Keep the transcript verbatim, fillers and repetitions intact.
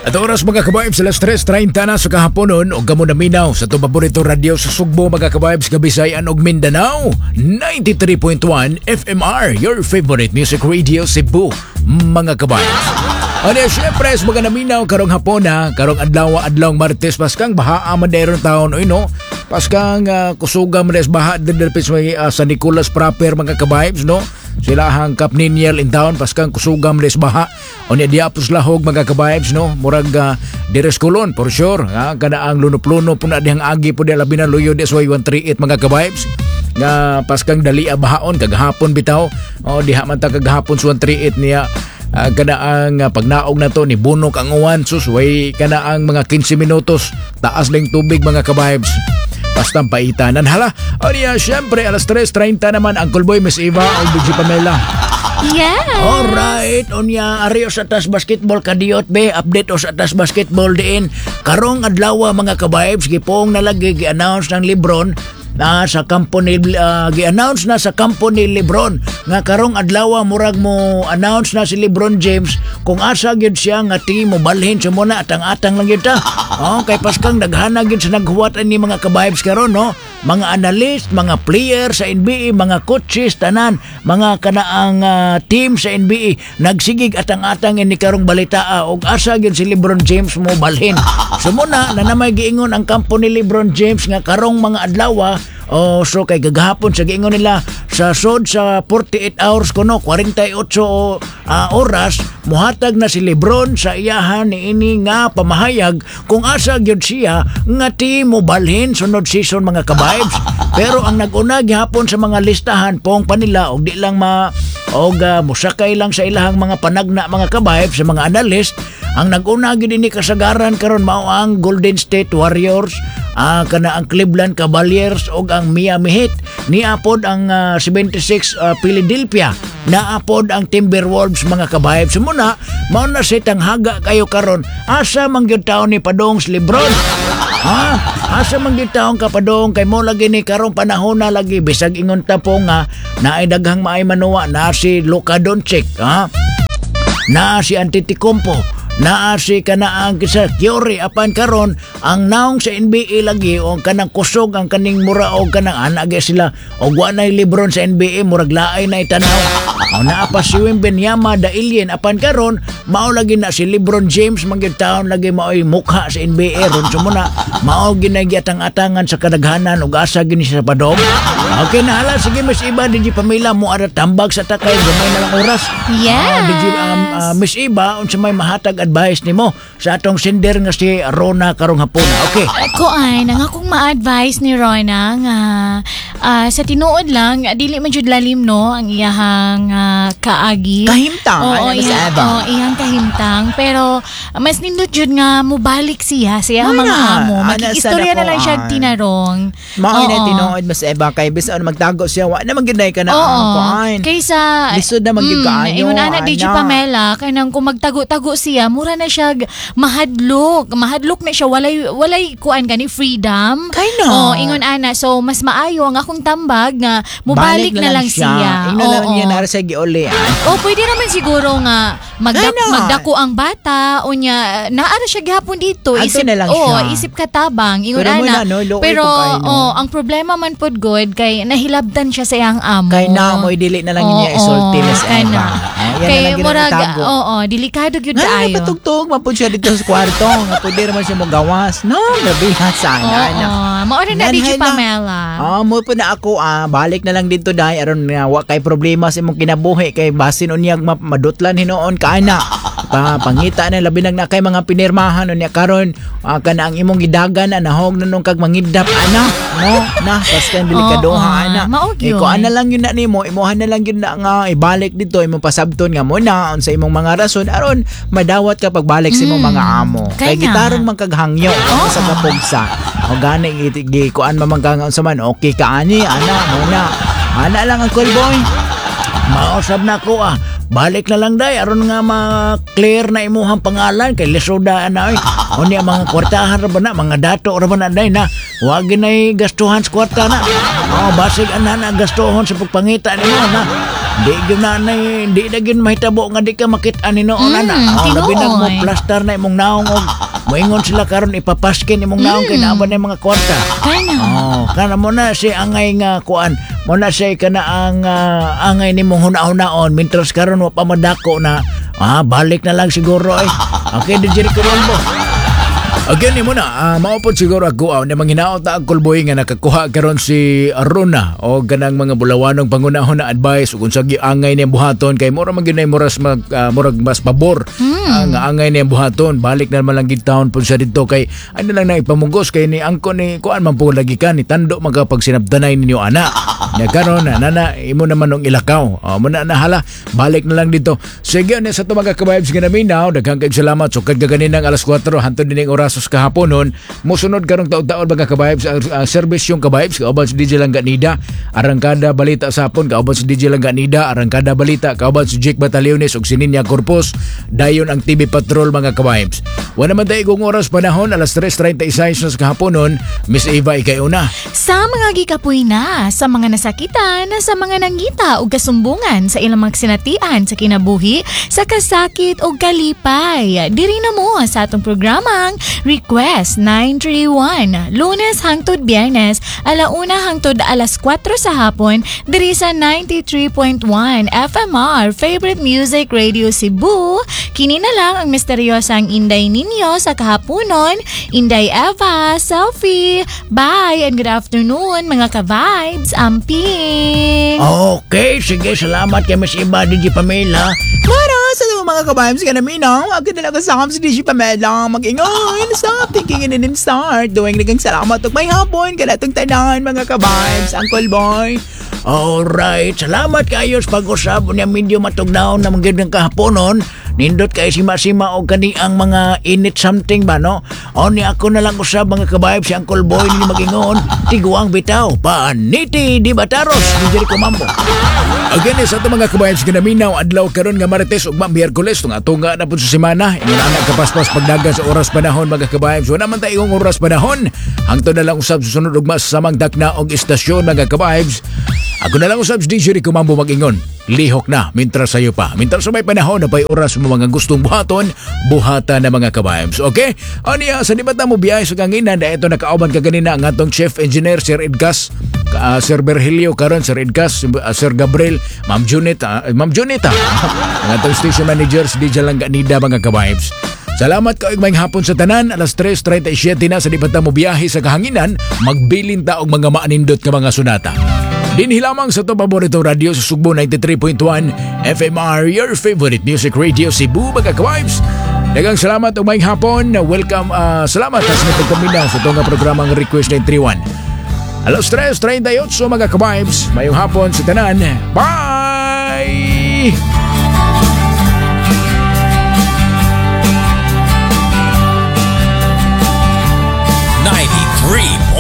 At oras, mga ka-vibes, alas tres treinta na sa kahaponon og kamo naminaw sa atong paborito radyo sa Sugbo, mga ka-vibes, Kabisayan ug Mindanao, ninety-three point one F M R, your favorite music radio Cebu, mga ka-vibes. Ano, syempre, sa mga naminaw karong hapon na, karong adlaw, adlaw Martes, paskang baha man dayron taon oy, no? Paskang uh, kusuga man des baha diri sa may uh, San Nicolas proper, mga ka-vibes, no? Sila ang Camp Niniel in town, paskang kusuga man des baha. O niya diapos lahog, mga ka-vibes, no? Murag uh, Dires Kulon for sure, ha? Kana ang lunop-lunop po na dihang agi po di labi na luyo di sa one three eight, mga ka-vibes, nga paskang dali bahaon kagahapon bitaw. O diha man ta kagahapon sa one three eight niya. Uh, kana ang uh, pagnaog na to ni bunok ang uwan, sus, way kana ang mga kinse minutos taas lang tubig, mga ka-vibes, basta paitanan hala. O niya, syempre, alas tres treinta naman ang Kulboy, Miss Eva o D J Pamela. Yes. Alright, unya ari sa tas basketball kadiyot be, update o sa tas basketball diin. Karong adlaw, mga ka-vibes, gipong nalagi gi-announce ng LeBron na sa kampo ni uh, gi-announce na sa kampo ni LeBron nga karong adlaw murag mo announce na si LeBron James kung asa gyud siya nga team mo balhin sa muna atang-atang lang gyud ta. Oh, kay paskang daghana gyud sa naghuwat ani, mga ka-vibes, karon, no. Mga analyst, mga player sa N B A, mga coaches, tanan, mga kanaang uh, team sa N B A nagsigig atang-atang ini karong balita og asa gyud si LeBron James mo balhin. So muna na namay giingon ang kampo ni LeBron James nga karong mga adlaw. Oh, so kay gagahapon sa giingon nila sa sod sa forty-eight hours kuno, kwarenta y otso uh, oras muhatag na si LeBron sa iyahan ni ini nga pamahayag kung asa gyud siya nga team mo balhin sunod season, mga ka-vibes. Pero ang nag-una gihapon sa mga listahan pong panila og di lang ma og uh, musakay lang sa ilahang mga panagna, mga ka-vibes, sa mga analyst, ang nag-una gyud ini kasagaran karon mao ang Golden State Warriors, ah, kana ang Cleveland Cavaliers ug ang Miami Heat. Niapod ang ah, seventy-six ah, Philadelphia. Naapod ang Timberwolves, mga ka-vibes. Muna, mao na si tanghaga kayo karon. Asa man gyud taon ni padong si LeBron? Ha? Asa man gyud taon ka padong kay mo lagi ni karong panahon na lagi bisag ingon ta po nga naay daghang maay manuwa na si Luka Doncic, ha? Naa si Antetokounmpo, naa si kanaang kisa Curry, apan karon ang naong sa N B A lagi o kanang kusog ang kaning mura o kanang ana gyud sila og wa nay LeBron sa N B A, murag laay na itanaw. O naa pa si Wembanyama da alien, apan karon mao lagi na si LeBron James man gyud taon lagi maoy mukha sa N B A ron. So muna mao ginagiyatang-atangan sa kadaghanan ug asa gini siya padong. Okay na hala, sige, Miss Iba, D J Pamela, mo ara tambag sa takay gamay na lang oras. Yes. Ah, D J, um, ah, Miss Iba, unsa may mahatag advice nimo sa atong sender nga si Rona karong hapon? Okay. Kuan, ang akong ma-advise ni Rona nga ah, sa tinuod lang dili man jud lalim, no, ang iyahang ah, kaagi. Kahimtang, Oo, ano, Miss iyang, Eva? Oo, iyang kahimtang. Pero ah, mas nindot jud nga mubalik siya sa iyang Ana, mga amo. ana Makikistorya sa na lang siya dakuan. tinarong. Mao na Oo. tinuod, Miss Eva, kay bisan ano magtago siya, wa na man gyud ka na Oo. ang kuan. Kaysa Lisod na man gyud kaayo, Ingon ana, D J ana. Pamela, kanang kung magtago-tago siya, mura na siya g- mahadlok. Mahadlok na siya, walay walay kuan gani freedom. Kay no. Oh, ingon ana. So mas maayo ang akong tambag nga mubalik na lang siya. Ingnon na lang Oo. niya nara sa giuli. ah. O pwede naman siguro nga magdak Why not? magdako ang bata unya naara siya gihapon dito. Adto na lang oh, siya. Isip katabang ingon Pero mo ana. na, no, luoy Pero po kayo, no? oh, ang problema man pod good kay nahilabtan siya sa iyang amo. Kay na mo'y dili na lang niya Oo, isulti, Miss Eva. kana. Ah, yan Kay na lang murag, ginatago. oo, delikado gyud Nga kaayo. na patugtog man pud siya dito sa kwarto nga pwede naman siya mogawas. No, grabe ha sana. Oo, na. mao na na D J Nanhay na. Pamela. Ah, mo po na ako ah, balik na lang dito dai aron nga wa kay problema sa imong kinabuhi kay basin unyag ma- madutlan hinuon ka ana. Pa pangita na labi nag na kay mga pinirmahan unya karon ah, kana ang imong gidagan na nahog na nung kag mangidap ana. No, na paskan delikadoha Oo, ana. mao Eh, gyud. kuan na lang yun na nimo, imuha na lang yun na nga ibalik dito imong pasabton nga mo na unsa imong mga rason aron madawat ka pagbalik sa imong mga amo. Kay Kay nga. gitarong man kag hangyo sa kapugsa. O gani gi, gi kuan man man ka nga unsa man okay ka ani ana mo na. Ana lang ang cool boy. Mausab na ko ah. Balik na lang day aron nga ma-clear na imuhang pangalan kay lisoda na oy. Unya mga kwartahan ra ba na, mga dato ra ba na day na. Wa ginay gastuhan sa kwarta na. Oh, basig ana na gastuhon sa pagpangita nimo na. Di gyud na na di na gyud mahitabo nga di ka makit-an hinuon Mm, ana. Oh, labi na mo tinuod. plaster na imong naong og moingon sila karon ipapaskin imong naong kay naa ba na mga kwarta. Kana. Oh, kana mo na si angay nga kuan, mo na siya kana ang ah, angay nimong huna-hunaon mintras karon wa pa madako na ah balik na lang siguro eh. Okay, D J Rico Rombo. Again, mo na, uh, mao pod siguro ako uh, na manghinaot na ang Kulboy nga nakakuha karon si Rona o ganang mga bulawanong pangunahon na advice ug unsa angay niyang buhaton kay mura man gyud nay muras mag ah, murag mas pabor mm. nga angay niyang buhaton. Balik na naman lang gid taon pud siya didto kay ano lang na ipamugos kay ni angko ni kuan man po lagi ka ni tando magkapag sinabdanay ninyo ana nya karon na nana imo naman nung ilakaw. Oh, mo na nahala, balik na lang dito. Sige na sa ato mga ka-vibes nga naminaw, daghang kayong salamat. Sukad ka ganinang alas kuwatro hantod dining oras sa kahaponon. Mosunod karong taud-taon, mga ka-vibes, ang uh, serbisyong ka-vibes kauban si D J Langganida, Arangkada Balita sa hapon kauban si D J Langganida, Arangkada Balita kauban si Jake Bataliones ug si Ninya Corpus. Dayon ang T V Patrol, mga ka-vibes. Wala man tayo kung oras panahon, alas tres trenta y sais na sa kahaponon. Miss Eva, ikay una. Sa mga gikapoy na, sa mga nasakitan, sa mga nangita og kasumbungan sa ilang mga sinatian sa kinabuhi, sa kasakit o kalipay. Diri na mo sa atong programang Request nine three one, Lunes hangtod Biyernes, alauna hangtod alas kuwatro sa hapon, diri sa ninety-three point one F M R, Favorite Music Radio Cebu. Kini na lang ang misteryosang Inday ninyo sa kahaponon, Inday Eva, Selfie. Bye and good afternoon, mga ka-vibes. Amping! Okay, sige, salamat kay Miss Eva, D J Pamela. Para sa mga ka-vibes nga naminaw, ako na lang kasama si D J Pamela. Mag-ingon, stop thinking and then start doing. Daghang salamat ug maayong hapon kanatong tanan, mga ka-vibes. Uncle Boy. Alright, salamat kayo sa pag-usab niya. Medyo matugnaw na mga ng kahaponon. Nindot kay sima-sima og kani ang mga init something ba, no? O ni ako na lang usab, mga ka-vibes, si Uncle Boy ni magingon. Tiguang bitaw, paniti di bataros, D J Rico Mambo. Again, sa ato mga kabayan sa ginaminaw, adlaw karon nga Marites ug Miyerkules, tung ato nga na po sa semana, ingon anak kapaspas pagdagan sa oras panahon, mga kabayan. So naman tayo ang oras panahon. Hangtod na lang usab susunod ugma sa samang dakna og istasyon, mga ka-vibes. Ako na lang usab si D J Rico Mambo mag-ingon. Lihok na, mintras sayo pa. Mintras sa may panahon na pa'y oras mo mga gustong buhaton, buhata na, mga ka-vibes. Okay? O niya, sa di ba ta mo biyahe sa kanginan, na ito nakauban ka ganina ang atong chief engineer, Sir Edgas, uh, Sir Berhilio karon, Sir Edgas, uh, Sir Gabriel, Ma'am Junit, uh, Ma'am Junita, ang atong station manager, si D J Langganida, mga ka-vibes. Salamat ka maayong hapon sa tanan. Alas tres trenta y siyete na sa di pa ta mo biyahe sa kahanginan, magbilin ta og mga maanindot nga mga sonata. Dinhi lamang sa to paborito radio sa Sugbo, ninety-three point one F M R, your favorite music radio Cebu, mga ka-vibes. Daghang salamat ug maayong hapon. Welcome, uh, salamat sa inyong pagpaminaw sa itong programang Request nine three one. Alas tres trenta y otso, mga ka-vibes. Maayong hapon sa tanan. Bye!